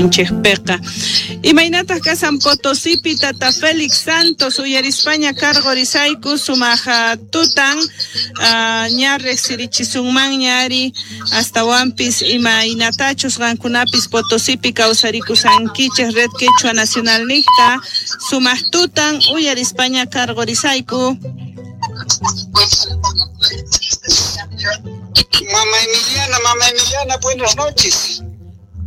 Suyunchikpiqa. Imaynataq kashan Potosipi, tata Félix Santos? Uyarispaña karqorisayku, sumaq tutan, ña riqsirichisunmanña ari, astawanpis imaynatachus qankunapis Potosipi kawsarikusankichik Red Quechua Nacional niqta. Sumaq tutan, uyarispaña karqorisayku. Mama Emiliana, buenas noches.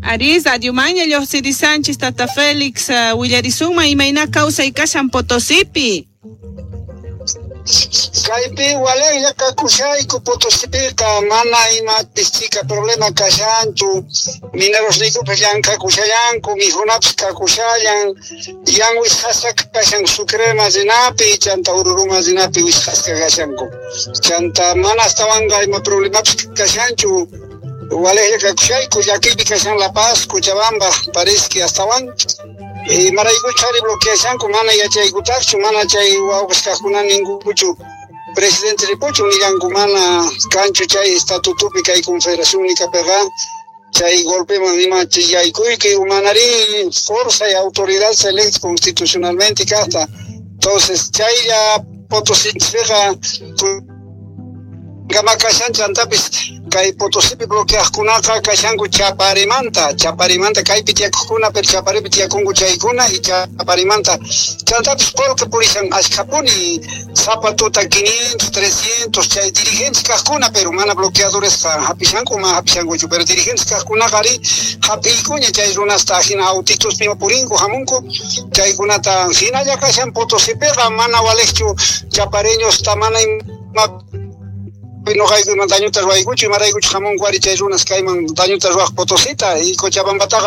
Arí, radiomanña lluqsirisanchis, tata Félix, willarisunman imayna kawsay kashan Potosipi. Kaypi walejlla kakushayku Potosipiqa, mana imapis chika problema kashanchu, minerosniykupis llank'akushallanku, mikhunapis kakushallan, yan wisqasqa kashan Sucrema rinapi, chanta Oruruma rinapi wisqasqa kashanku. Chanta mana astawanqa ima problemapis kashanchu, walejlla kakushayku, llakiypi kashan La Paz, Cochabamba, parece astawan. Imaraykuchu ari bloqueashanku mana yachaykutaqchu, mana chay wawqis kaqkuna ninkuchu presidente ripuchun nillanku, mana kanchu chay estatutupi kay confederación nikapiqa chay golpeman ima yaykuyki manari fuerza y autoridad se electa constitucionalmente kaqta. Entonces chaylla Potosipiqa kama kashan, chantapis kay Potosipi bloqueaqkunaqa kashanku Chaparimanta kaypi tiyakuqkuna, pero Chaparipi tiyakunku chaykuna y Chaparimanta. Chantapis qullqi purishan ashkhapuni, sapa tuta 500, 300 chay dirigentes kaqkuna, pero mana bloqueadoresqa hapishanku, mana hapishankuchu, pero dirigentes kaqkunaqa ari hap'iykuña chay runasta, hina autituspi purinku hamunku chaykunata. Hinalla kashan Potosipiqa, mana walejchu chapareñosta, mana ima noqaykuman dañuta ruwaykuchu, imaraykuchu hamunku ari chay runas kayman dañuta ruwaq Potosita y Cochabambataqa.